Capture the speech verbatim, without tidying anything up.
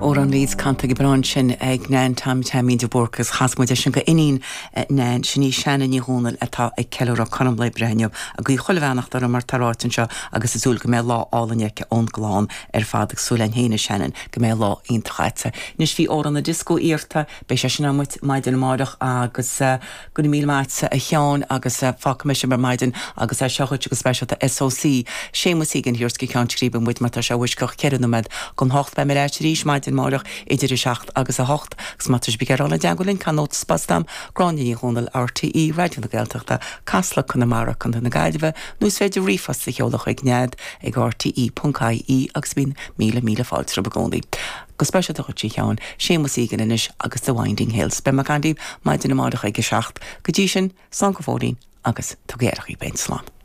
Amhrán Leeds canta go breá ansin ag Nan Tom Taimín de Búrca agus chas muid sin go iníon Nan sin í Shanna Ní Dhomhnaill atá ag ceiliúradh cothrom lae breithe inniu ag guí chuile bheannacht uirthi mar atá ráite anseo agus ag súil go mbeidh lá álainn aici ón gclann ar fad ag súil linn féin a Shannon go mbeidh lá iontach agat. Anois bhí amhrán na disco iarrta beidh sé sin amuigh maidin amárach agus uh, go míle maith a Sheáin agus uh, fágfaidh mé sin ar maidin agus é seo go speisialta SOC Séamus Egan thiar go Ceann Scríbe muid mar tá sé uisceach ceithre nóiméad chun hocht beidh mé ar ais arís maidin amárach idir a seacht agus a hocht agus má tá bí ar deagulinn canót spastam Gráinne Ní Dhomhnaill RTÉ Raidió na Gaeltachta Casla Conamara Contae na Gaillimhe nó is féidir ríomhphost a sheoladh chuig nead ag RTE.ie agus bíonn míle míle fáilte romhaibh i gcónaí. Go speisialta chuig Seán Séamus Egan anois agus The Winding Hills. Beidh mé agaibh maidin amárach ag a seacht go dtí sin slán go fóillín agus tugaigí aire daoibh féin slán.